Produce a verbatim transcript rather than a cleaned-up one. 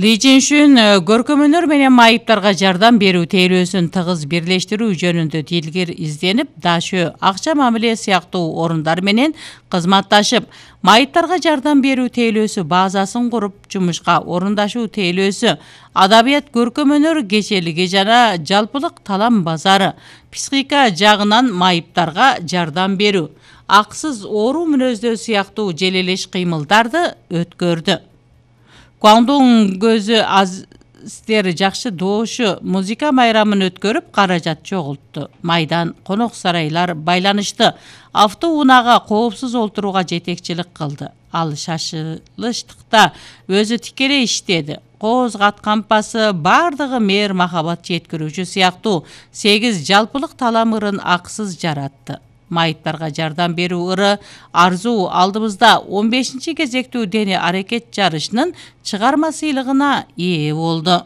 Ли Чжэньшүн көркөм өнөр менен майыптарга жардам берүү тейлөөсүн тыгыз бирлештирүү жөнүндө дилгир изденип, Дашө акча мамиле сыяктуу орундар менен кызматташып, майыптарга жардам берүү тейлөөсү базасын куруп, жумушка орундашуу тейлөөсү, адабият көркөм өнөр кечелиги жана жалпылык талам базары, психика жагынан майыптарга жардам берүү, аксыз оору мүнөздөө сыяктуу желелеш кыймылдарды өткөрдү. Гуандун көзү азтер жакшы доошу музыка майрамын өткөрүп, каражат чогултту. Майдан конок сарайлар байланышты. Автоунаага коопсуз олтурууга жетекчилик кылды. Ал шашылыштыкта өзү тикелей иштеди. Кооз кат кампасы бардыгы мээр махабат жеткирүүчү сыяктуу сегиз жалпылык талам ырын аксыз жаратты. Майыптарга жардам берүү ыры арзуу алдыбызда он бешинчи кезектүү дене аракет жарышынын чыгарма сыйлыгына ээ болду.